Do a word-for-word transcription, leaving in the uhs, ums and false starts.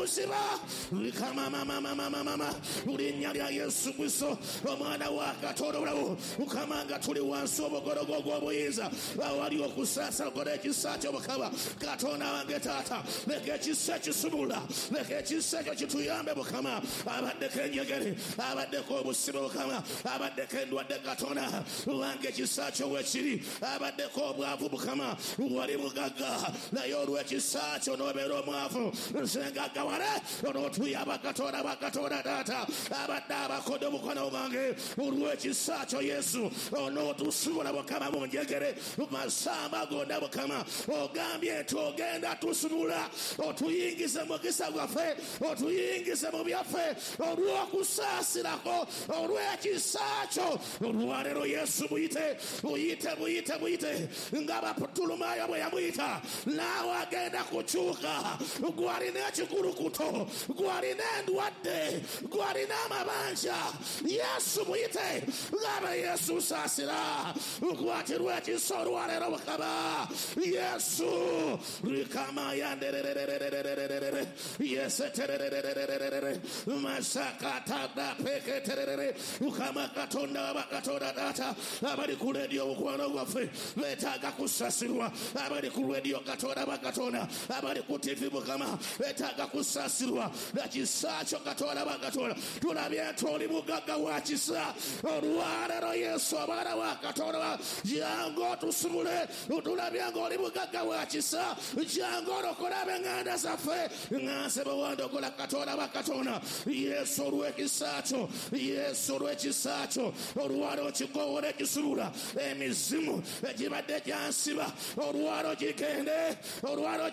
Buziba Mama Linnya lya Yesu Kristo omwana wa Katonda obulamu Mukama nga tuli wansi obugologo gw'obuyinza awali okusaasira okola ekisa kyo Mukama Katonda wange taata leka ekisa ekisumula leka ekisa ekyo kituyambe Mukama abaddeko enjegere abaddeko obusibe Mukama abaddeko endwadde Katonda wange ekisa kyo wekiri abaddeko obwavu Mukama wali mugagga naye olw'ekisa kyo n'obeera omwavu nze ngaggawale onootuyamba Katonda wa Katonda taata abadde abakodde omukono gwange olw'ekisa kyo Yesu onootusumula Mukama mu njegere mu masamba gonna Mukama ogambye nti ogenda tusumula otuyingize mukisa gwaffe otuyingize mu byaffe olw'okusaasirako olw'ekisa kyo olwaleero Yesu muyite muyite muyite muyite nga Baputulumayo bwe yamuyita naawe agenda kukyuka gwalina ekikulukuto gwalina endwadde gwalina amabanja Yesu muyite ngaba Yesu saasira okwatirwa ekisa olwaleero Mukama Yesu rikama yandererererererere yeseterererererere masakatada peketerere Mukama Katonda wa Katonda taata abali ku leediyo omukwano gwaffe beetaaga kusaasirwa abali ku leediyo Katonda wa Katonda abali ku T V Mukama beetaaga kusaasirwa na kisa kyo Katonda wa Katonda tulabye nti oli mugagga wa kisa olwaleero Yesu omwana wa Katonda jangu otusumule tulabye ng'oli mugagga wa kisa jangu olokole ab'eŋŋanda zaffe nga nze bwe wandokola Katonda wa Katonda Yesu olw'ekisa kyo Yesu olw'ekisa kyo olwaleero kikowoola ekisumula emizimu egibadde gyansiba olwaleero gigende olwaleero